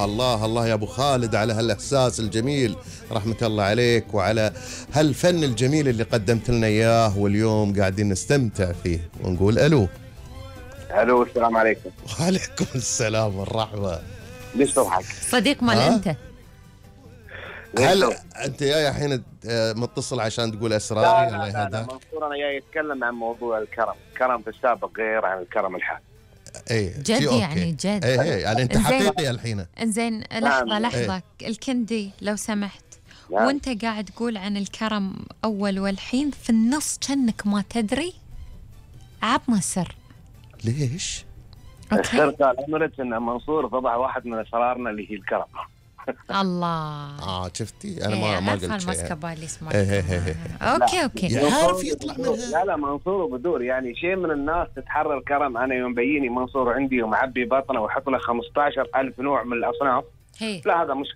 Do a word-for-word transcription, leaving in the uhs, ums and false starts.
الله الله يا أبو خالد على هالإحساس الجميل، رحمة الله عليك، وعلى هالفن الجميل اللي قدمت لنا إياه، واليوم قاعدين نستمتع فيه ونقول ألو. ألو السلام عليكم. وعليكم السلام والرحمة. ليش تضحك؟ صديق مال أنت؟ هل أنت جاي الحين متصل عشان تقول أسراري؟ لا لا, لا, لا منصور أنا جاي أتكلم عن موضوع الكرم، الكرم في السابق غير عن الكرم الحالي. ايه جد يعني جد. ايه ايه يعني انت حقيقي الحين. انزين لحظة لحظة ايه. الكندي لو سمحت يعني. وانت قاعد تقول عن الكرم أول والحين في النص كأنك ما تدري، عطنا السر. ليش؟ السر قال أمرت أن منصور فضح واحد من أسرارنا اللي هي الكرم. الله. اه شفتي انا ما ما قلت شيء. المسكبالي اسمه. اوكي اوكي عارف يطلع منها. لا لا منصور وبدور يعني شيء من الناس تتحرر كرم. انا يوم بيني منصور عندي ومعبي بطنه ويحط له خمسة عشر ألف نوع من الاصناف. لا هذا مش